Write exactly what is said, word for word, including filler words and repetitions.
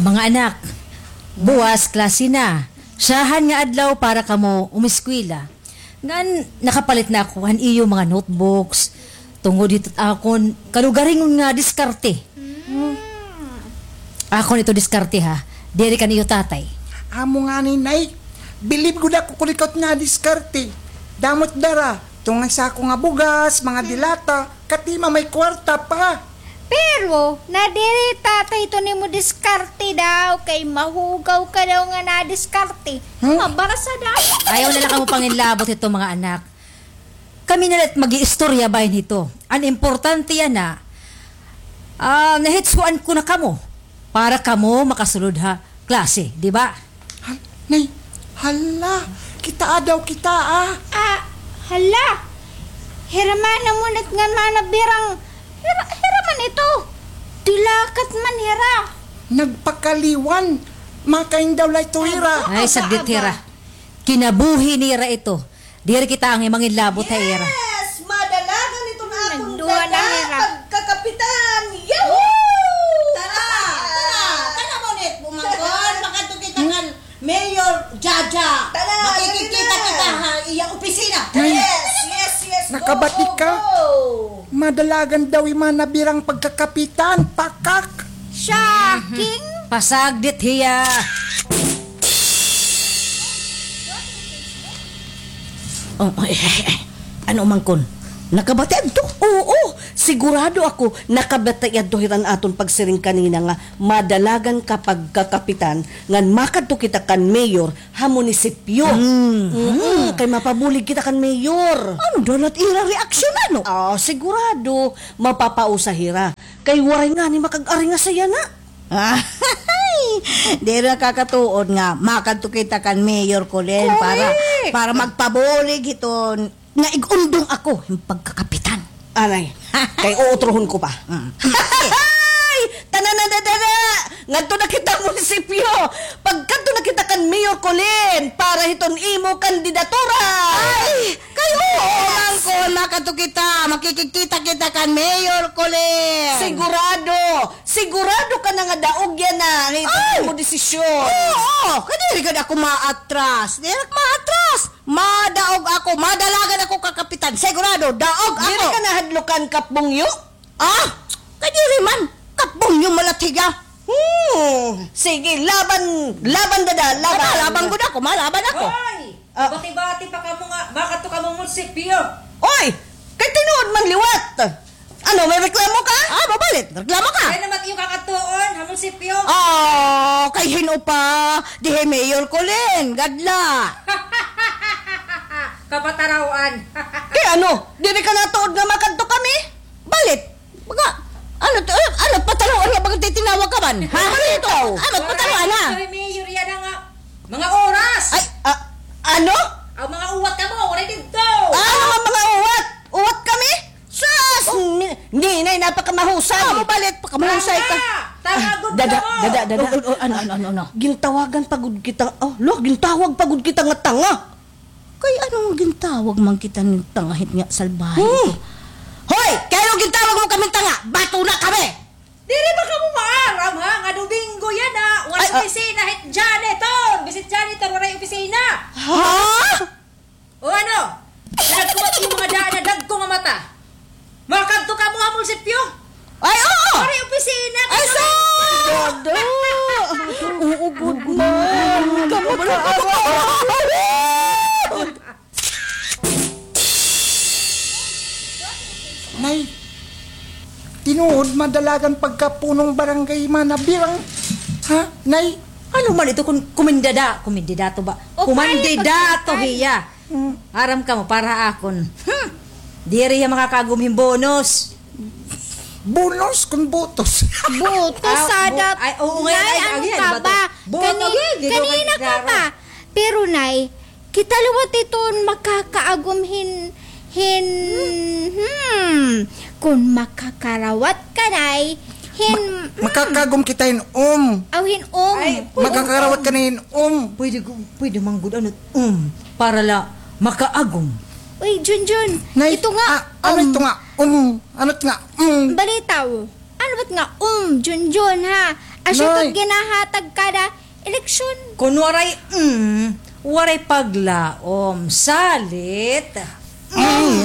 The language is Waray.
Mga anak, buwas klase na. Syahan nga adlaw para kamo umiskwela. Ngan nakapalit na ako han iyo mga notebooks. Tungod hito akon kalugaringon nga diskarte. Akon ito diskarte, ha. Diri kan iyo tatay. Amo ngani, Nay. Bilib gud ako kon ikaw it nga diskarte. Damo it dara. Tunga sako nga bugas, mga dilata. Katima may kwarta pa. Pero nadiri tatay ito nimo diskarte daw, kay mahugaw ka daw nga nadiskarte. Hmm? Mabarasa daw. Ayaw na la kamo pangilabot hito, mga anak. Kami na la it mag-iistorya bahin hito. An importante yana, ah, nahitsuan ko na kamo para kamo makasulod ha klase, di ba? Hal-, Nay, hala, kitaa daw kita, ah. Ah, hala. Hira man amo nit ngan Mana Birang. Hira, hira man ito. Dilakat man hira. Nagpakaliwan. Makain daw la ito hira. Ay, saglit hira. Kinabuhi nira ito. Diri kita angay mangilabot ha ira. Yes! Madalagan ito na akon dada, pagkakapitan. Yahoo! Tara! Tara! Tara mo nit, bumangkon. Makadto kita kan Mayor Jaja. Tara, makikita kita ha iya opisina. Yes, yes, yes. Nakabati ka? Madalagan daw hi Mana Birang pagkakapitan. Pakak! Shocking! Pasagdit hiya! Oh, ay, ay, ay. Ano man kon? Nakabati adto? Oo, sigurado ako nakabati adto hiran aton pagsiring kanina nga madalagan ka pagkakapitan ngan makadto kita kan mayor ha munisipyo. Mm, kay mapabulig kita kan mayor. Ano daw la it ira reaksyon, ano? Ah, sigurado mapapausa hira. Kay waray ngani makag-ari nga saya na. Ay, diri nakakatuod nga makadto kita kan Mayor Colin para, para magpabulig hiton nga ig-undong ako hin pagkakapitan. Aray, kay uutrohon ko pa. Mm. Ay, tana na, dada! Ngadto na kita munisipyo. Pagkadto na kita kan Mayor Colin para hiton imo kandidatura. Ay, kay oo man kon makadto kita, makikikita kita kan Mayor Colin. Sigurado. Sigurado ka na nga daog yana an imo desisyon? Oo, oo. Kay diri gad ako maatras. Diri ako maatras. Madaog ako, madalagan ako kakapitan. Sigurado, daog ako. Diri ka nahadlukan, Kap Bungyo? Ah, kay diri man. Kap Bungyo man la it hiya. Hmm. Sige, laban, laban, dada, laban. Laban gud ako, malaban ako. Hoy! Ah. Bati-bati pa kamo nga makadto kamo munisipyo. Oy! Kay tinuod man liwat. Ano, may reklamo ka? Ah, mabalit. Reklamo ka? Kay naman iyo kakadtuon ha munisipyo. Ah, kay hin-o pa, di hi Mayor Colin, gad la. Kapatarawan. Kay ano, diri ka natuod nga makadto kami? Balit. Baga, ano to, ano, ano, pataluan nga baga titinawag ka man? Ha? Ano ito? Ano, pataluan, ha? Waray, Mayor, yana nga mga oras. Ay, ah, ano? Ang mga uwat kamo, waray didto. Ah, ano nga mga uwat? Uwat kami? Sus! Ni, ninay, napakamahusay. Ah, mabalit, pakamahusay ka. Tanga! Tanga gud kamo. Dada, dada, dada. Oh, oh, ano, ano, ano, ano? Gintawagan pa gud kita. Oh, lo, gintawag pa gud kita nga tanga. Kay ano nga gintawag man kita nga tanga hit nga salbahe ito? Hoy! Kay ano gintawag mo kami tanga? Bato na kami! Diri ba kamo maaram, ha? Nga Domingo yana, waray opisina hit janitor. Bisan janitor, waray opisina. Ha? O ano? Dagko it iyo mga daan nga dagko nga mata. Makadto kamo ha munisipyo? Ay, oo! Waray opisina. Ay, sus! Dada! Oo, gud man. Kamo ka. Nay, tinuod, madalagan pagkapunong barangay Mana Birang. Ha, Nay? Ano man ito kon kumindada-, kumindidato ba? Kumandidato hiya. Hmm. Aram kamo, para ha akon. Hmm. Diri hiya makakaagom hin bonus. Bonus kon botos? Botos, ah, sada. Ay, oo nga, Nay, ano ka ba? Kanina ka pa. Pero, Nay, kita liwat iton makakaagom hin, hin, hmm, kon makakarawat ka, Nay, hin, hmm. Makakaagom kita hin um. Aw, hin um. Ay, makakarawat ka na hin um. Pwede, pwede man gud, ano, um, para la makaagom. Uy, Junjun, ito nga, ano ito nga, um, ano ito nga, um. Balitaw. Ano ba it nga um, Junjun, ha? Asya Nay. It ginahatag kada eleksyon. Kun waray, mm, waray paglaom. Salit. Mm.